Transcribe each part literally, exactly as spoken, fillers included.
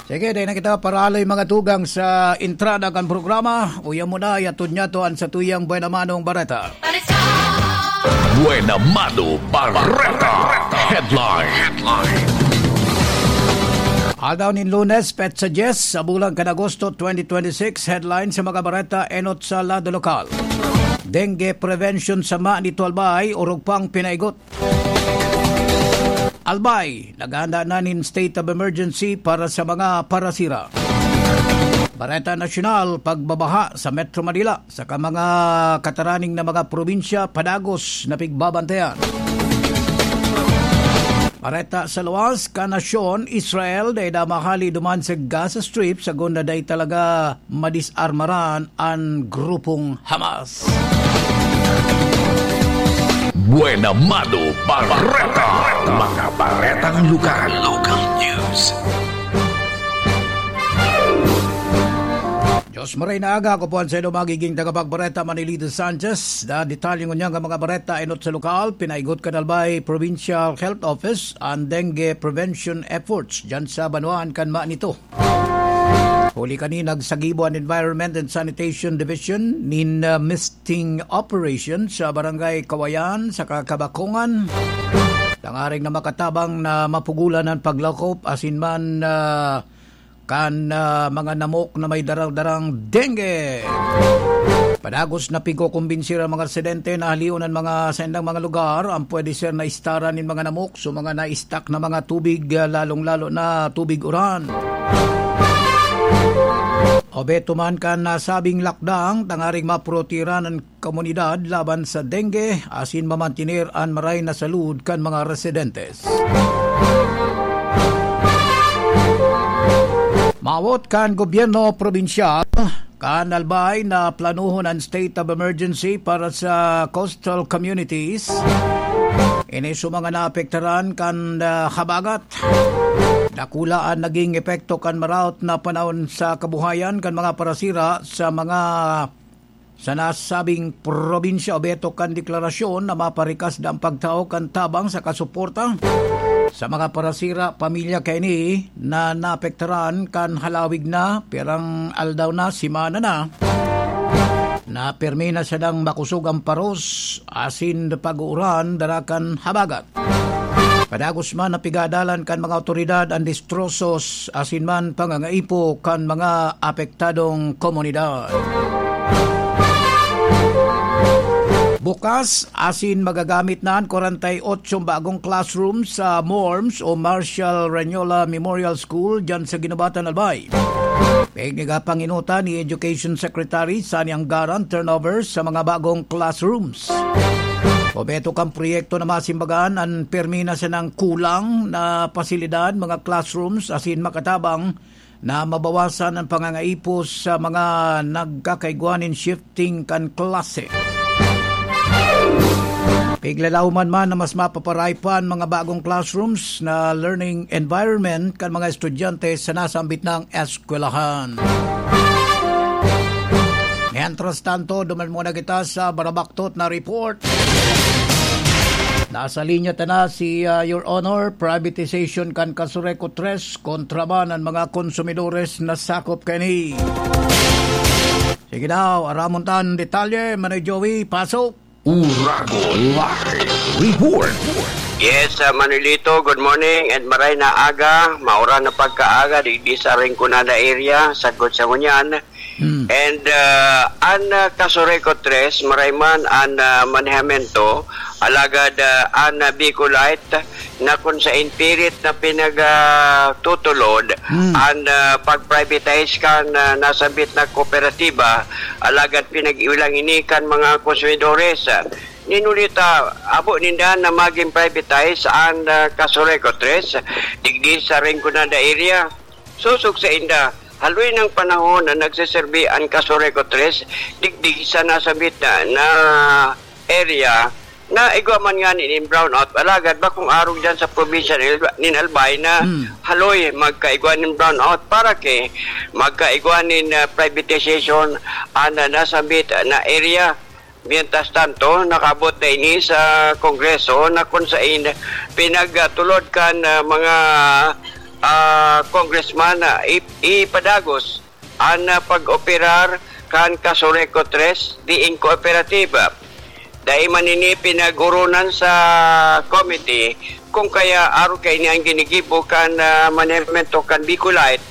Sige, dai na kita paraloy mga tugang sa entrada kan programa. Uya mo na, yatod niya to an satuyang Buena Manong Bareta. Buena Mano Bareta. Headline. Headline. Aldaw nin Lunes, petsa dyes sa bulan kan Agosto twenty twenty-six, headline sa mga bareta enot sa lado lokal. Dengue prevention sa Mani to Albay, orog pang pinaigot. Albay, naghahanda na nin state of emergency para sa mga parasira. Bareta Nasyonal, pagbabaha sa Metro Manila, saka mga kataraning na mga probinsya, padagos na pigbabantayan. Bareta sa luwas, kanasyon, Israel, dai na mahali duman sa Gaza Strip, sagunda dai talaga madisarmaran an grupong Hamas. Buena Mano Bareta. Mga baretang lugar. Local news. Diyos maray na aga, ako po ang saindo magiging tagapagbareta, Manilito Sanchez. Na detalye ngunyan nga mga bareta, enot sa lokal, pinaigot kan Albay Provincial Health Office an dengue prevention efforts dyan sa banwaan kan Mani to. Huli kani, nagsagibo an Environment and Sanitation Division nin, ah, misting operation sa Barangay Kawayan sa Kakabakongan. Tangaring na makatabang na mapugulan an paglakop asin man, ah, kan, ah, mga namok na may darang-darang dengue. Padagos na pigkokombinsir ang mga residente na halion an mga saindang mga lugar, ang pwede ser na istaran nin mga namok, so mga na-stuck na mga tubig, ah, lalong-lalo na tubig uran. Obeto man kan nasabing lakdang, tangaring maprotehiran an komunidad laban sa dengue, asin mamantener an maray na salud kan mga residentes. Mawot kan gobyerno probinsyal, kan Albay na planohon an state of emergency para sa coastal communities. Ini sa mga naapektaran kan, ah, habagat. Dakula an naging epekto kan maraot na panahon sa kabuhayan kan mga parasira sa mga sa nasabing probinsya. Obeto kan deklarasyon na maparikas da ang pagtao kan tabang saka suporta sa mga parasira pamilya kaini na naapektaran kan halawig na, pirang aldaw na, semana na, na pirmi na sadang makosog ang paros asin pag-uuran dara kan habagat. Padagos man na pigadalan kan mga awtoridad an destrosos asin man pangangaipo kan mga apektadong komunidad. Bukas asin magagamit na an kwarenta y ocho bagong classroom sa MORMS o Marshall Rañola Memorial School diyan sa Guinobatan, Albay. Pigniga panginuta ni Education Secretary Sani Anggaran turnover sa mga bagong classrooms. Obeto kan proyekto na masimbagan an pirmi na sanang kulang na pasilidad, mga classrooms, asin makatabang na mabawasan an pangangaipos sa mga nagkakaigwa nin shifting kan klase. Piglalaoman man na mas mapaparay pa an mga bagong classrooms na learning environment kan mga estudyante sa nasambit nang eskwelahan. Mientras tanto, duman muna kita sa barabaktot na report. Nasa linya ta na si, ah, Your Honor, privatization kan Casureco tres kontra man an mga konsumidores na sakop kani. Sige daw, aramon tan detalye, Manoy Joey, pasok. Uragon Live Report. Yes, ah, Manolito, good morning and maray na aga. Maura na pagkaaga digdi sa Rinconada area, sagkod sa ngunyan. Hmm. And, ah, an, ah, Casureco tres, maray man an, ah, manehamento, alagad, ah, an, ah, Bicolite na kun sain pilit na pinag, ah, tutulod Hmm. an, ah, pag-privatize kan, ah, nasambit na kooperatiba, alagad pinag-iwi lang ini kan mga konsumidores. Ninulita, abo ninda na magin privatize an, ah, Casureco tres, digdi sa Rinconada area. Sosog sainda, haloy nang panahon na nagseserbi an Casureco tres digdi sa nasambit na, na area na igwa man ngani nin brownout. Alagad bakong arog diyan sa probinsya nin Alba-, nin Albay na Hmm. haloy magkaigwa nin brownout para kay magkaigwa nin, ah, privatization an, ah, nasambit na area. Mientras tanto, nakabot na ini sa Kongreso na kun sain pinagtulod kan, ah, mga ah, Congressman, ah, ip-, ipadagos an, ah, pag-operar kan Casureco tres diin kooperatiba. Dai man ini pinag-oronan sa committee, kung kaya arog kaini an ginigibo kan, ah, manehemento kan Bicolite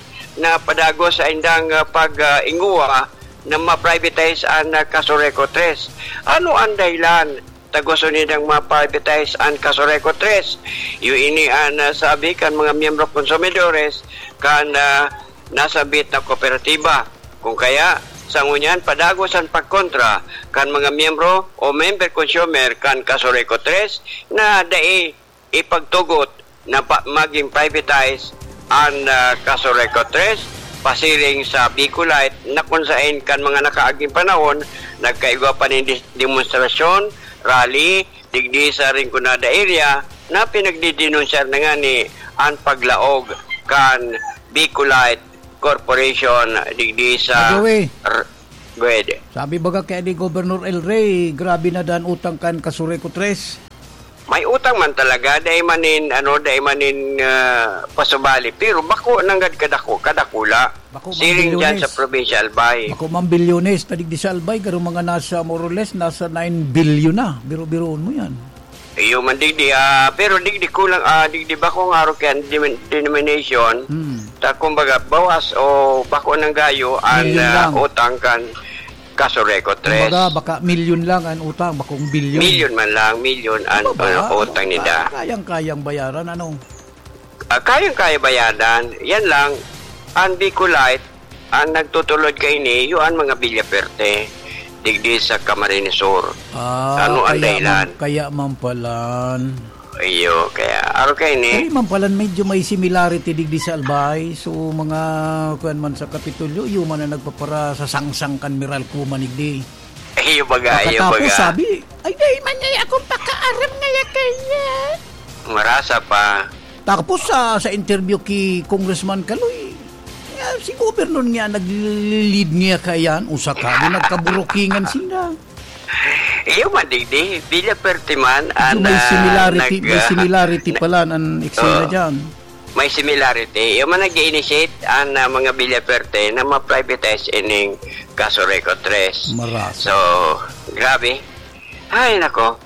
na padagos sa indang, ah, pag, ah, inguwa na ma-privatize an, ah, Casureco tres. Ano an dahilan ta gusto nindang ma-privatize an Casureco tres? Iyo ini an, ah, sabi kan mga miyembro konsumidores kan, ah, nasabit na kooperatiba. Kung kaya, sa ngunyan, padagos an pagkontra kan mga miyembro o member consumer kan Casureco tres na dai ipagtugot na pa-, maging privatize an, ah, Casureco tres, pasiring sa Bicolite na kun saen kan mga nakaaging panahon, nagkaigwa pa nin dis-, demonstrasyon, rally, digdi sa Rinconada area na pinagdidinunsyar na ngani an paglaog kan Bicolite Corporation digdi sa By the way, R-, go ahead. Sabi baga kaya ni Governor El Rey, grabe na dan utang kan Casureco tres. May utang man talaga, dai man nin, ano, dai man nin, ah, pasubali. Pero bako nanggad kadako, kadakula. Bako man Siring dyan bilyones. Sa provincial bay. Bako man bilyones, ta digdi sa Albay, garo mga nasa, more or less, nasa nine billion na. Biro-biroon mo yan. Iyo man digdi, ah, pero digdi kulang, ah, digdi bako nga arog kan demin-, denomination. Hmm. Ta, kumbaga, bawas o bako nang gayo an, Milyon ah, lang. Utang kan Casureco tres. Kumbaga, baka milyon lang an utang, bakong bilyon. Milyon man lang, milyon an, Mababa, ah, utang nila. Kayang-kayang bayaran, ano? Ah, kayang-kaya bayaran. Yan lang, an Bicolite, an nagtutulod kaini, iyo an mga Villaferte, digdi sa Camarines Sur. Ah, Ano ang kaya dahilan? man, kaya man palan. Iyo, kaya, aro kaini. Kaya man palan, medyo may similarity digdi sa Albay. So, mga, kuwan man sa Kapitolyo, iyo man ang nagpapara sa sangsang kan Meralco man digdi. Iyo baga, iyo Pagkatapos baga. sabi, "Ay, dai man niya akong pakaaram ngaya kaya." Marasa pa. Tapos sa, sa interview ki Congressman Kaloy, ah, si Governor niya nag-lead niya kayan, usa ka, di nagkaburukingan sinda. Iyo man, digdi, Villaferte man, Medyo an, may ah, similarity, nag-, may ah, similarity na-, pala an eksena oo. dyan. May similarity. Iyo man nag-initiate an, ah, mga Villaferte na ma-privatize ining Casureco tres. Marasa. So, grabe. Ay, nako.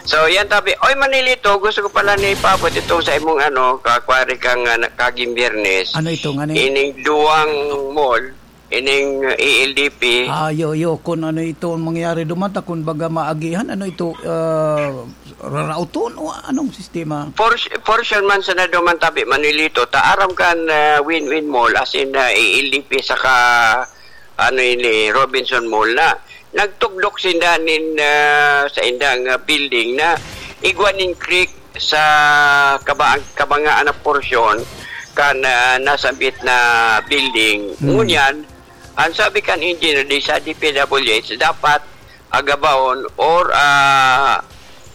So, yan tabi. Oy, Manilito, gusto ko pala na ipaabot itong sa imong ano, kakwari kang, ah, na-, kaging Biyernes. Ano ito, ngani? Ining duwang mall, ining, ah, E L D P. Ah, yo, yo, kung ano ito ang mangyayari duman, ta kung baga maagihan, ano ito, ah, rarauton o anong sistema? Por-, portion man sana duman tabi, Manilito, ta aram kan, ah, Win-Win Mall, as in, ah, E L D P saka, ano ini, Robinson Mall na. Nagtugdok sinda nin, ah, sa indang, ah, building na igwa nin creek sa kaba-, kabangaan na porsyon kan, ah, nasambit na building. Hmm. Ngunyan, ang sabi kan engineer di sa D P W H, dapat agabahon or, ah,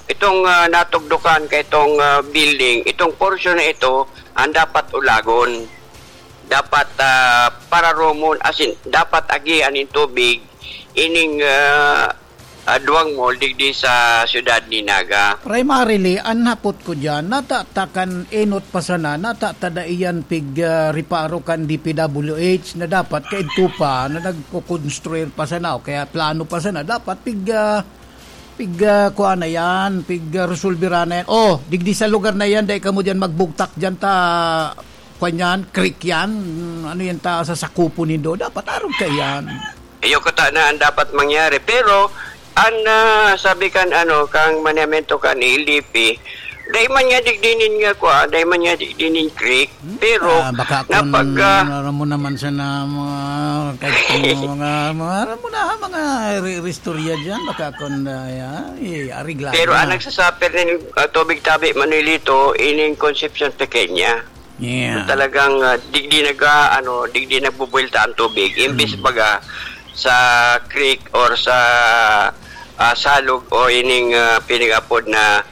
itong, ah, natugdokan ka itong, ah, building, itong porsyon na ito, ang dapat ulagon. Dapat, ah, pararomon, as in, dapat agihan nin tubig ining, ah, ah, duwang mall digdi sa siyudad ni Naga. Primarily, an hapot ko diyan, nata ta kan enot pa sana, nata ta dai yan pig, ah, reparo kan D P W H na dapat kaidto pa na nagko-construir pa sana o kaya plano pa sana, dapat pig, ah, pig, ah, kuha na yan, pig, ah, resolbera na yan. Oh, digdi sa lugar na yan, dai kamo diyan magbugtak diyan ta, kwan yan, creek yan. Ano yan ta sa sakupon nindo? Dapat arog ka yan. Iyo kutana an dapat mangyari. Pero, an, ah, sabi kan, ano, kang manehemento kan E L D P, dai man niya digdi nin nga kwa, dai man niya digdi nin creek. Hmm? Pero, Ah, baka kung napag, ah, aram mo naman sana mga, kahit mga, mga, mga, aram mo na, mga re-, restorya dyan, baka kung, ah, ya, eh, arigla Pero na. Ang nagsasuffer nin, ah, tubig tabi, Manilito, ining Concepcion Pequeña. Yeah. Talagang, ah, digdi naga-, ano, digdi nagbubuwelta ang tubig. Imbis Mm. baga sa creek or sa, ah, salog o ining, ah, pinag-apod na,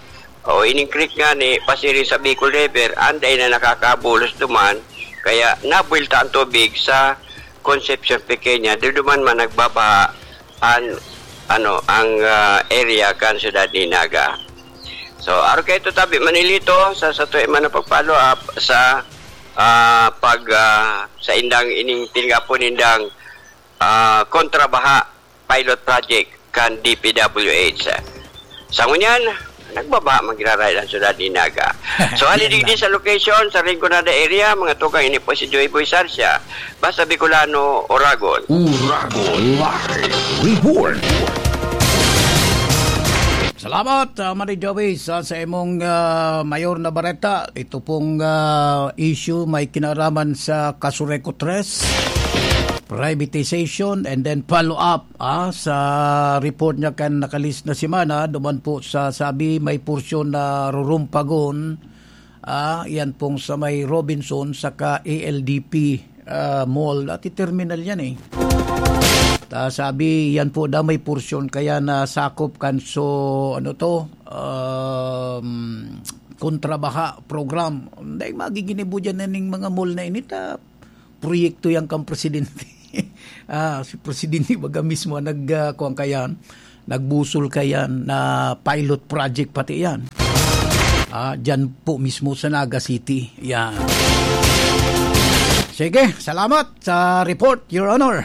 o ining creek nga ni, pasiring sa Bicol River, anday na nakakabulos duman. Kaya nabuwelta ang tubig sa Concepcion Pequeña. Di duman man nagbabaha an, ano, ang, ah, area kan siyudad ni Naga. So, aro kaito tabi, Manilito, sa, sa tuwi man na pag-follow up sa ah, pag, ah, sa indang ining pinagapon nindang, ah, kontrabaha pilot project kan D P W H. Sa ngunyan, nagbabaha man giraray ang syudad ni Naga. So, hali digdi sa location, sa Rinconada area, mga tugang, ini po si Joy Boy Sarsia, Basta Bicolano, Oragon. Oragon Live Report. Salamat, ah, Manny Joey, sa, sa imong, ah, mayor na bareta. Ito pong, ah, issue may kinaraman sa Casureco tres, privatization, and then follow up, ah, sa report niya kan nakalihis na semana, duman po sa sabi may porsyon na rurumpagon, ah, yan pong sa may Robinson saka A L D P, ah, Mall. Dati terminal yan eh. Ta sabi, yan po daw may porsyon kaya nasakop kan so, ano to, um, kontrabaha program. Dahil magiginibo dyan na ning mga mall na ini, ta proyekto yan kang presidente. Ah, si presidente baga mismo ang nag, ah, kuwan kayan, nagbusol kayan na pilot project pati yan. Ah, dyan po mismo sa Naga City. Yan. Sige, salamat sa report, Your Honor.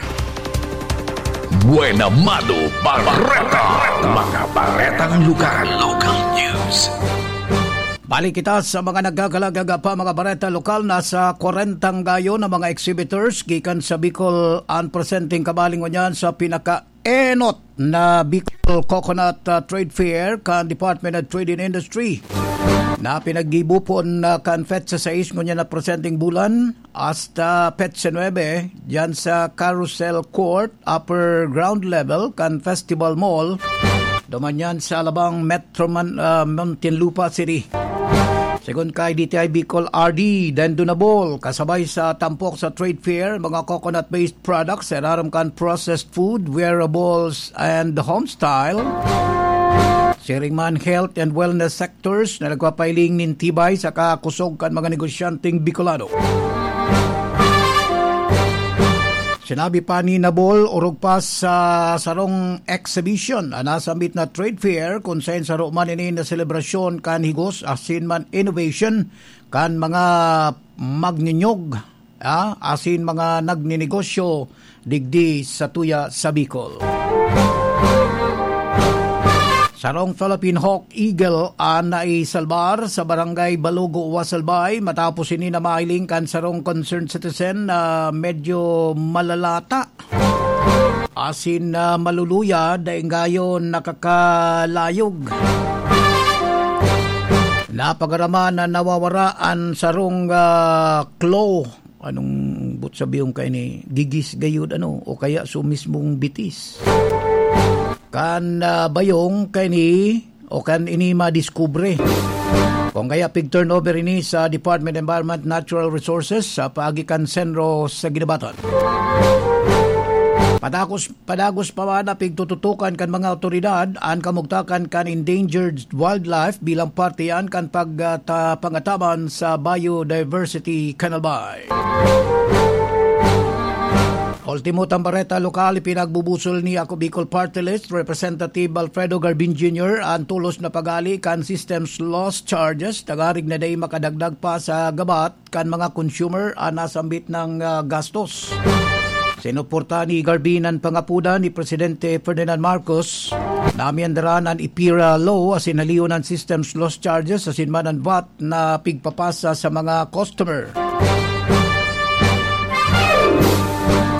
Buena Mano Bareta. Mga baretang lokal. Local news. Balik kita sa mga nagkakalaga pa, mga bareta lokal. Nasa kwarentang gayo na mga exhibitors gikan sa Bicol ang presenteng kabaling ngunyan sa pinakaenot na Bicol Coconut, ah, Trade Fair kan Department of Trade and Industry na pinaggibo pon na kan petsa sais ngunyan na presenteng bulan hasta petsa nuebe, diyan sa Carousel Court, upper ground level kan Festival Mall, duman yan sa Alabang, Metro Man-, ah, Muntinlupa City. Segun kay D T I Bicol R D Dendonabol, kasabay sa tampok sa trade fair, mga coconut-based products, irarom kan processed food, wearables, and home style. Siring man health and wellness sectors na nagpapailing nin tibay sa kakusog kan mga negosyanteng Bicolano. Sinabi pa ni Nabol, orog pa sa sarong exhibition an nasambit na trade fair, kun saen saro man ini na selebrasyon kan higos asin man innovation kan mga magninyog, ah, asin mga nagninegosyo digdi sa tuya sa Bicol. Sarong Philippine Hawk Eagle an naisalbar sa Barangay Balogo, Wasalbay, matapos ini na mahiling kan sarong concerned citizen na medyo malalata asin, ah, maluluya, dai nggayon nakakalayog. Napagaraman na nawawara an sarong, ah, claw. Anong but sabihon kaini? Gigis gayud, ano? O kaya so mismong bitis. Kan, ah, bayong kaini, o kan ini madiskubre. Kung kaya pig-turnover ini sa Department of Environment Natural Resources sa paagi kan Senro sa Ginabatan. Padagos, padagos pa man na pigtututukan kan mga awtoridad an kamugtakan kan endangered wildlife bilang parte yan kan pag, ah, ta-, pangataban sa biodiversity kan Albay. Ultimo tang bareta lokal, ipinagbubusol ni Ako Bicol Party List Representative Alfredo Garbin Junior an tolos na paghali kan systems loss charges, tangarig na dai makadagdag pa sa gabat kan mga consumer an nasambit na, ah, gastos. Sinuporta ni Garbin an pangapodan ni Presidente Ferdinand Marcos na amyandaran an EPIRA Law asin halion an systems loss charges asin man an vat na pigpapasa sa mga customer.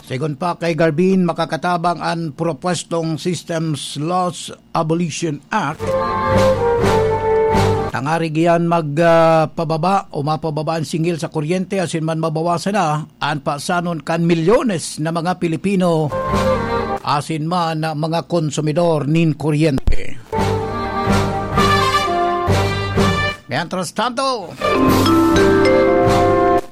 Segun pa kay Garbin, makakatabang an propwestong Systems Loss Abolition Act, tangarig iyan mag, ah, pababa o mapababa an singil sa kuryente asin man mabawasan na an pasanon kan milyones na mga Pilipino asin man na mga konsumidor nin kuryente. Mientras tanto,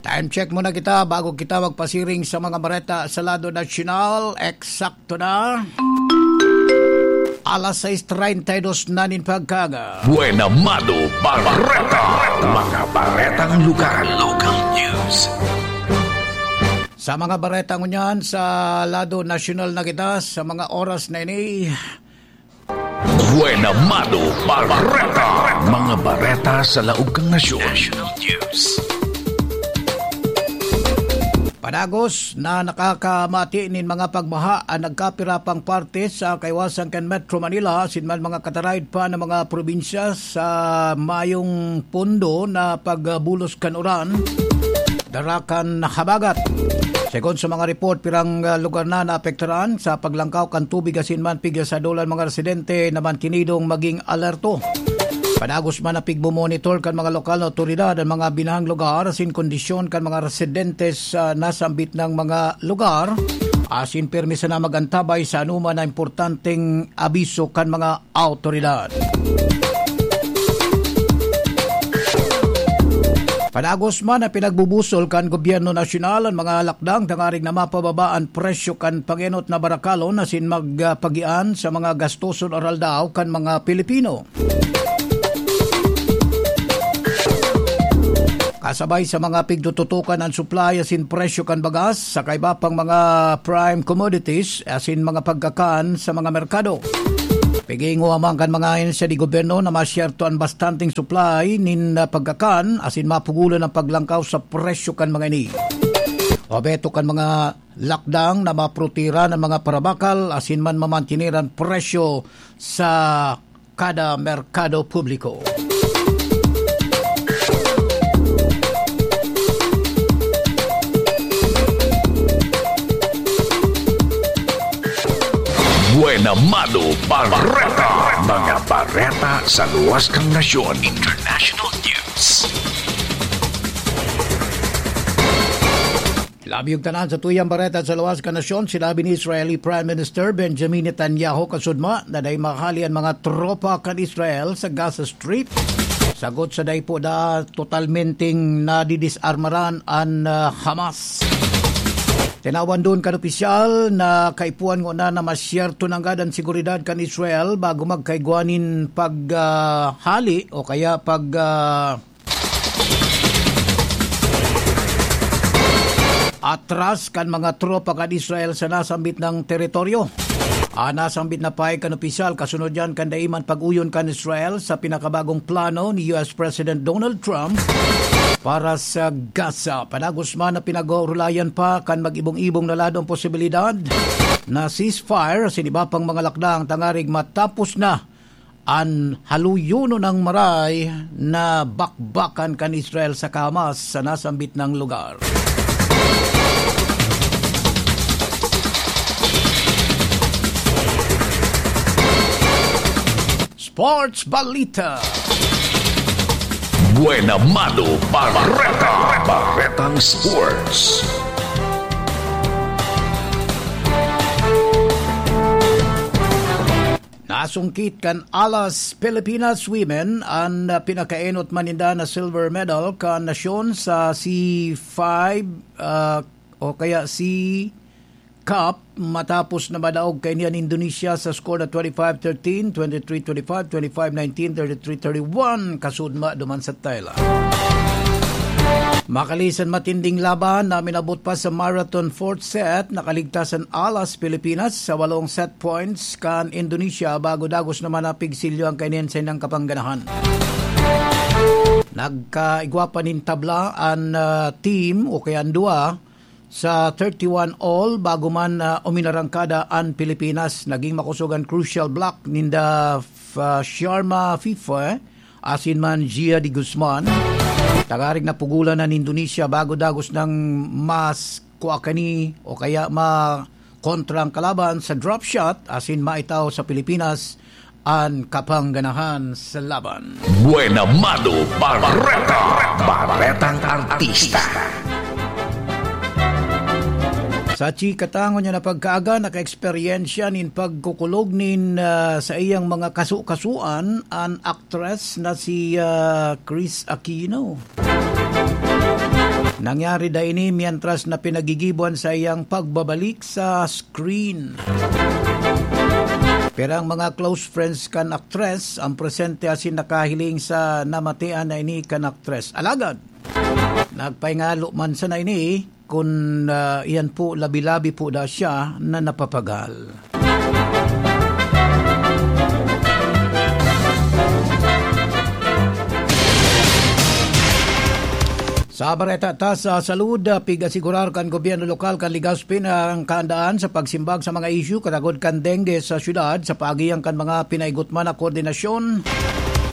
time check muna kita bago kita magpasiring sa mga bareta sa lado nasyonal. Eksakto na alas sais treinta y dos na nin pagkaga. Buena Mano Bareta. Mga baretang lokal. Local news. Sa mga bareta ngunyan, sa lado nasyonal na kita, sa mga oras na ini, Buena Mano Bareta. Mga bareta sa laog kan nasyon. National News. Padagos na nakakamati nin mga pagbaha ang nagkapira pang parte sa kaiwasan kan Metro Manila asin man mga kataraid pa na mga probinsya sa mayong pondo na pagbulos kan uran, dara kan habagat. Segun sa mga report, pirang, ah, lugar na naapektaran sa paglangkaw kan tubig asin man pigsadulan mga residente na mantinidong maging alerto. Padagos man na pigmo-monitor kan mga lokal na awtoridad an mga binahang lugar asin kondisyon kan mga residente sa nasambit na mga lugar, asin pirmi sana mag-antabay sa anoman na importanteng abiso kan mga awtoridad. Padagos man na pinagbubusol kan gobyerno nasyonal an mga lakdang tangarig na mapababa an presyo kan pangenot na barakalon asin magpagian sa mga gastoson aral daw kan mga Pilipino. Kasabay sa mga pigtututukan an supply asin presyo kan bagas, sa kaiba pang mga prime commodities asin mga pagkakan sa mga merkado. Pigingo man kan mga ahensya di gobyerno na masyerto an bastanteng supply nin, ah, pagkakan asin mapugulan an paglangkaw sa presyo kan mga ini. Obheto kan mga lakdang na maprotehiran an mga parabakal asin man mamantener an presyo sa kada merkado publiko. Buena Mano Bareta. Mga bareta sa luwas kan nasyon. International news. Labi og tanan sa tuyang bareta sa luwas kan nasyon, sinabi ni Israeli Prime Minister Benjamin Netanyahu kasudma na dai mahali an mga tropa kan Israel sa Gaza Strip, sagot sa dai po da totalmenteng nadidisarmaran an, ah, Hamas. Tinawan duon kan opisyal na kaipuhan ngona na masyerto nanggad an seguridad kan Israel bago magkaigwa nin pag, ah, hali o kaya pag, ah, atras kan mga tropa kan Israel sa nasambit na teritoryo. An nasambit na pahayag kan opisyal kasunod yan kan dai man pag-uyon kan Israel sa pinakabagong plano ni U S President Donald Trump para sa Gaza. Padagos man na pinag-orulayan pa kan mag-ibong-ibong na ladong posibilidad na ceasefire sa iba pang mga lakdang tangarig matapos na an haluyonon nang maray na bakbakan kan Israel saka Hamas sa nasambit na lugar. Sports Balita. Buena Mano Bareta. Baretang Sports. Nasungkit kan Alas Pilipinas Women an, ah, pinakaenot man ninda na silver medal kan nasyon sa C five, ah, o kaya C Cup matapos na madaog kaini an Indonesia sa score na twenty-five thirteen, twenty-three twenty-five, twenty-five nineteen, thirty-three thirty-one, kasudma duman sa Thailand. Makalisan matinding laban na minabot pa sa marathon fourth set, nakaligtas an Alas Pilipinas sa walong set points kan Indonesia bago dagos naman na pigsilyo ang kainin sa inang kapangganahan. Nagkaigwa pa nin tabla an, ah, team o kaya an duwa sa thirty-one all bago man, ah, uminarangkada an Pilipinas. Naging makosog an crucial block ninda, ah, Sharma Fifa asin man Gia de Guzman. Tangarig napugulan an Indonesia bago dagos nang mas kua kani o kaya makontra ang kalaban sa drop shot asin maitaw sa Pilipinas an kapangganahan sa laban. Buena Mano Bareta. Baretang Artista. Sa chika ta ngunyan na pagkaaga, naka-eksperyensya nin pagkukulog nin, ah, sa iyang mga kaso-kasuan an aktres na si, ah, Kris Aquino. Nangyari da ini mientras na pinagigibo an saiyang pagbabalik sa screen. Pero ang mga close friends kan aktres ang presente asin nakahiling sa namatean na ini kan aktres. Alagad, nagpahingalo man sana ini kun, ah, iyan po labi-labi po da siya na napapagal. Sa bareta ta sa salud, ah, pig-asigurar kan gobyerno lokal kan Legazpi na ang kaandaan sa pagsimbag sa mga isyu katagod kan dengue sa syudad sa paagihan kan mga pinaigutman na koordinasyon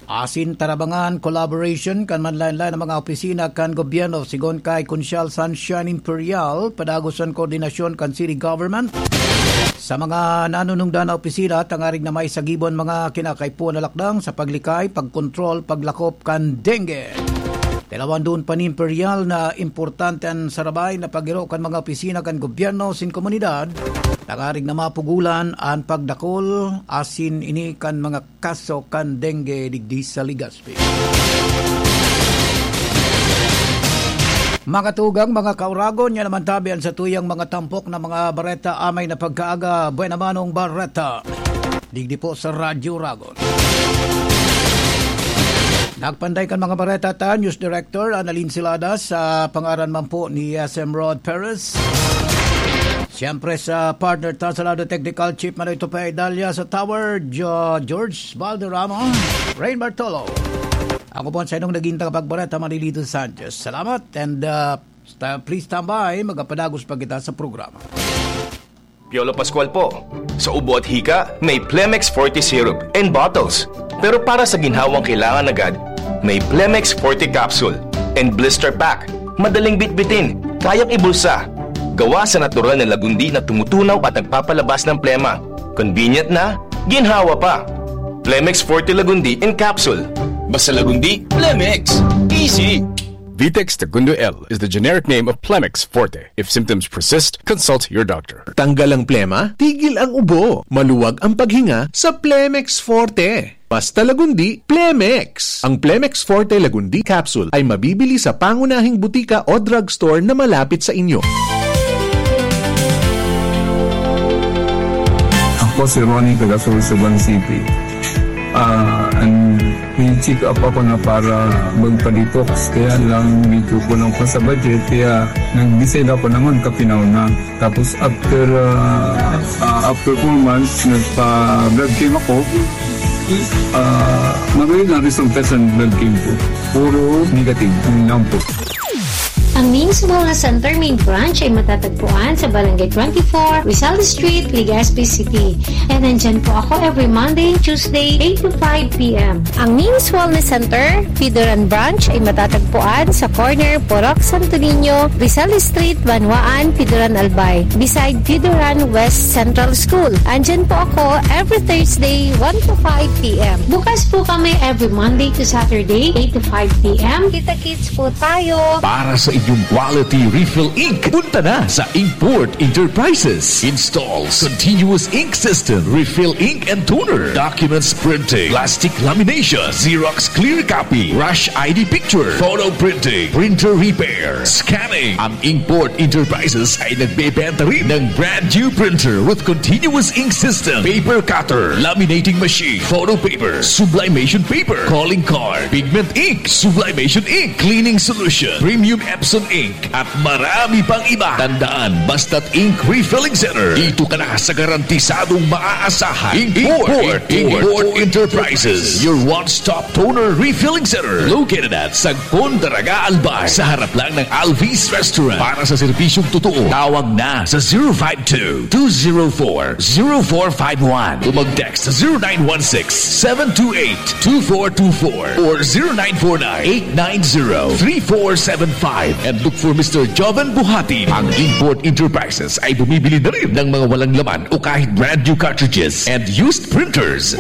asin tarabangan, collaboration kan manlaen-laen na mga opisina kan gobyerno. Sigon kay Konsyal Sunshine Imperial, padagos an koordinasyon kan city government sa mga nanunungdan na opisina tangarig na may sagibon mga kinakaipuhan na lakdang sa paglikay, pagkontrol, paglakop kan dengue. Tilawan doon pa ni Imperial na importante an sarabay na pagiro kan mga opisina kan gobyerno sin komunidad, tangarig na mapugulan an pagdakol asin ini kan mga kaso kan dengue digdi sa Legazpi. Mga tugang, mga kauragon, yan naman tabi an satuyang mga tampok na mga bareta amay na pagkaaga. Buena manong bareta. Digdi po sa Radyo Ragon. Nagpanday kan mga bareta ta, News Director Annalyn Silada, sa pangaran man po ni S M Rod Perez. Siyempre sa partner ta sa lado, Technical Chief Manoy Tupay Dalia, sa Tower, Jo-, George Valderrama, Rain Bartolo. Ako po ang sa inyong naging tagapagbareta, Manilito Sanchez. Salamat and, uh, sta-, please stand by. Magapadagos pa kita sa programa. Piolo Pascual po. Sa ubo at hika, may Plemex Forte Syrup and bottles. Pero para sa ginhawang kailangan agad, may Plemex Forte Capsule and Blister Pack. Madaling bitbitin, kayang ibulsa. Gawa sa natural na lagundi na tumutunaw at nagpapalabas ng plema. Convenient na, ginhawa pa. Plemex Forte Lagundi in Capsule. Basta Lagundi, Plemex. Easy! Vitex Segundo L is the generic name of Plemex Forte. If symptoms persist, consult your doctor. Tanggal ang plema, tigil ang ubo, maluwag ang paghinga sa Plemex Forte. Basta Lagundi, Plemex! Ang Plemex Forte Lagundi Capsule ay mabibili sa pangunahing butika o drugstore na malapit sa inyo. Ako si Ronnie, taga Sorsogon City. Ah, an-, may check up ako na para magpa-detox, kaya lang medyo kulang pa sa budget, kaya nag-decide ako naman kapinaw na. Tapos after, ah, ah, after four months, nagpa-blood chem ako. Ah, magayon ang resulta sa blood chem ko. Puro negative, yun lang po. Ang Ming's Wellness Center main branch ay matatagpuan sa Barangay twenty-four, Rizal Street, Legazpi City. And nandyan po ako every Monday and Tuesday, eight to five p m. Ang Ming's Wellness Center, Pidoran Branch, ay matatagpuan sa corner Purok Santo Niño, Rizal Street, Banwaan, Pidoran, Albay, beside Pidoran West Central School. Andyan po ako every Thursday, one to five p m. Bukas po kami every Monday to Saturday, eight to five p m. Kita-kits po tayo. Para sa inyong quality refill ink, punta na sa Inkport Enterprises. Installs continuous ink system, refill ink and toner, documents printing, plastic lamination, Xerox clear copy, rush I D picture, photo printing, printer repair, scanning. Ang Inkport Enterprises ay nagbebenta rin ng brand new printer with continuous ink system, paper cutter, laminating machine, photo paper, sublimation paper, calling card, pigment ink, sublimation ink, cleaning solution, premium Epson ink, at marami pang iba. Tandaan, basta't Ink Refilling Center, dito ka na sa garantisadong maaasahan. Inkport, Inkport, Inkport Enterprises, your one-stop toner refilling center, located at Sagpon, Daraga, Albay, sa harap lang ng Alvis Restaurant. Para sa serbisyong totoo, tawag na sa zero five two, two zero four, zero four five one o mag-text sa zero nine one six, seven two eight, two four two four or zero nine four nine, eight nine zero, three four seven five and look for Mister Joven Buhati. Ang Inkport Enterprises ay bumibili na rin ng mga walang laman o kahit brand new cartridges and used printers.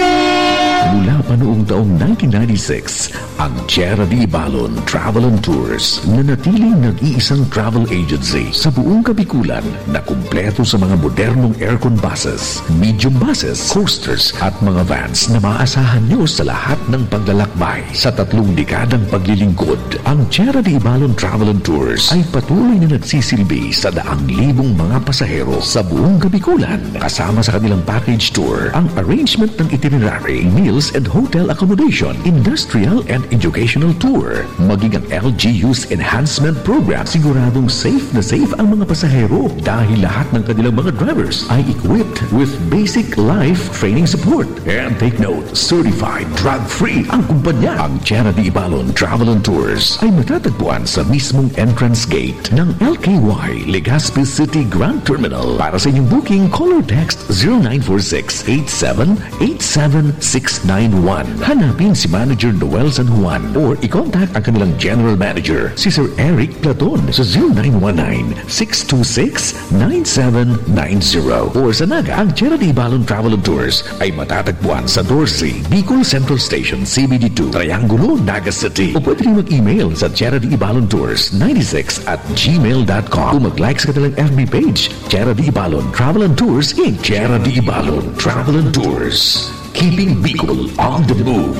Mula pa noong taong nineteen ninety-six, ang Tierra de Ibalon Travel and Tours, nanatiling nag-iisang travel agency sa buong Kabikulan na kumpleto sa mga modernong aircon buses, medium buses, coasters at mga vans na maaasahan nyo sa lahat ng paglalakbay. Sa tatlong dekadang paglilingkod, ang Tierra de Ibalon Travel and Tours ay patuloy na nagsisilbi sa daang libong mga pasahero sa buong Kabikulan. Kasama sa kanilang package tour ang arrangement ng itinerary, meals and hotel accommodation, industrial and educational tour, maging ang L G U's enhancement program. Siguradong safe na safe ang mga pasahero dahil lahat ng kanilang mga drivers ay equipped with basic life training support. And take note, certified drug-free ang kumpanya. Ang Tierra de Ibalon Travel and Tours ay matatagpuan sa mismong entrance gate ng L K Y Legazpi City Grand Terminal. Para sa inyong booking, call or text zero nine four six eight seven eight seven six nine one. Hanapin si Manager Noel San Juan or i-contact ang kanilang General Manager, si Sir Eric Platon, sa zero nine one nine six two six nine seven nine zero. Or sa Naga, ang Tierra de Ibalon Travel and Tours ay matatagpuan sa doce, Bicol Central Station, C B D two, Triangulo, Naga City. O pwede rin mag-email sa Tierra de Ibalon Tours ninety-six at gmail dot com. O mag-like sa kanilang F B page, Tierra de Ibalon Travel and Tours in Tierra de Ibalon Travel and Tours. Keeping Bicol on the move.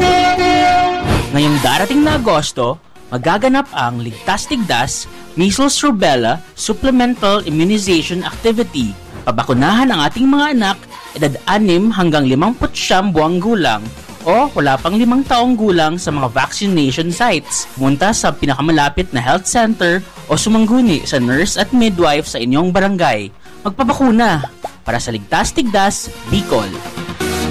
Ngayong darating na Agosto, magaganap ang Ligtas Tigdas Measles Rubella Supplemental Immunization Activity. Pabakunahan ang ating mga anak, edad anim hanggang limampu't siyam buwang gulang o wala pang limang taong gulang sa mga vaccination sites. Munta sa pinakamalapit na health center o sumangguni sa nurse at midwife sa inyong barangay. Magpabakuna para sa Ligtas Tigdas, Bicol.